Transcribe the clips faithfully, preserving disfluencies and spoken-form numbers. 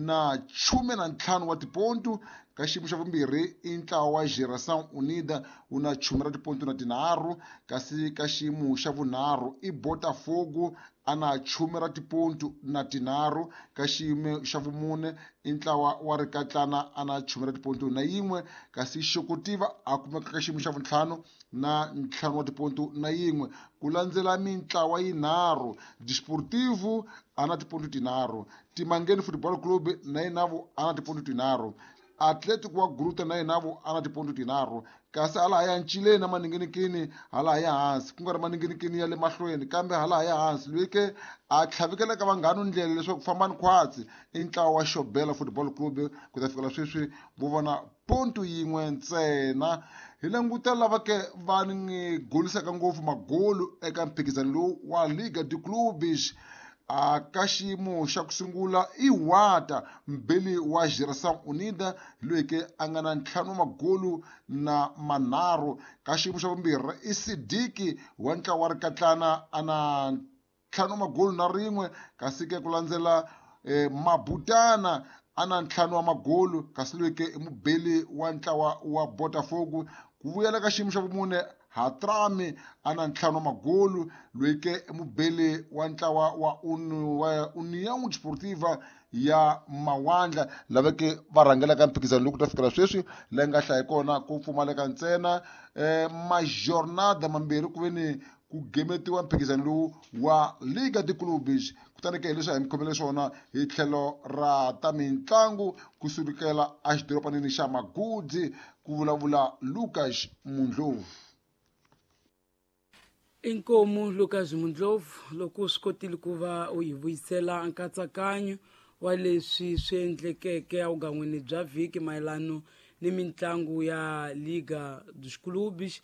na khume na ntlhanu wa tipontu. Ka xiyimo xa vumbirhi i ntlawa wa Geração Unida wu na khume ra tipontu na tinharhu, kasi ka xiyimo xa vunharhu i Botafogo a na khume ra tipontu na tinharhu. Ka xiyimo xa vumune i ntlawa wa Rikatlana a na khume ra tipontu na yin'we, kasi Xokotiva a kumeka ka xiyimo xa vuntlhanu na ntlhanu wa tipontu na yin'we. Ku landzela mintlawa yinharhu, Desportivo a na tipontu tinharhu, Timangeni Football Club na yinavo a na tipontu tinharhu, Atletico wa Gruta na yinavo a na tipontu tinharhu. Kasi hala ya ncileni na maninginikini hala ya hansi, ku nga ri maninginikini ya le mahlweni kambe hala ya hansi, loyi ke a tlhavikelaka vanghanu ndlela leswaku fambani khwatsi i ntlawa wa Xobela Football Club. Ku ta fikela sweswi vo vona pontu yin'we ntsena. Hi languta lava ke va ni golisaka ngopfu magolu eka mphikizano lowu wa Liga de Clubes. A ka xiyimo xa ku sungula i Wata mbeli wa Geração Unida, loyi ke a nga na ntlhanu wa magolu na manharhu. Ka xiyimo xa vumbirhi i Sidiki wa ntlawa wa Rikatlana a na ntlhanu wa magolu na rin'we, kasi ke ku landzela eh, Mabutana a na ntlhanu wa magolu, kasi loyi ke i mubeli wa ntlawa wa Botafogo. Ku vuyela ka xiyimo xa vumune Hatrami a na ntlhanu wa magolu, loyi ke i mubeli wa ntlawa wa wa União Desportiva ya Mawandla, lava ke va rhangelaka mphikizano lowu ku ta fikela sweswi. Leyi nga hlaya kona ku pfumaleka ntsena eh, majornada mambirhi ku ve ni ku gemetiwa mphikizano lowu wa Liga de Clubes. Kutani ke hileswi a hi mi khomele swona hi tlhelo ra ta mitlangu kusukela exidorobanini xa Magudzi, ku vulavula Lucas Mundlovu. Inkomu Lucas Mundlovu, loko u swi kotile ku va u hi vuyisela nkatsakanyo wa leswi swi endlekeke evugan'wini bya vhiki mayelano ni mitlangu ya Liga dos Clubes,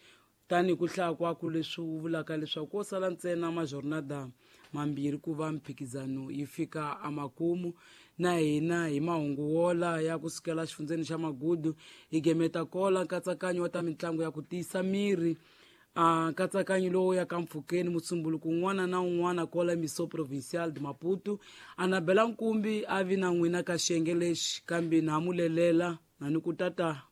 tanihi ku hlaya kwaku leswi wu vulaka leswaku ko sala ntsena majornada mambirhi ku va mphikizano yi fika emakumu. Na hina hi mahungu wola ya kusukela xifundzeni xa Magudu hi gemeta kola nkatsakanyo wa ta mitlangu ya ku tiyisa miri. A nkatsakanyo lowu ya ka mpfhukeni musumbuluko un'wana na un'wana kola Miso Provincial de Maputo. Anabela Nkumbi a vi na n'wina ka xiyenge lexi, kambe na mulelela na ni ku tata.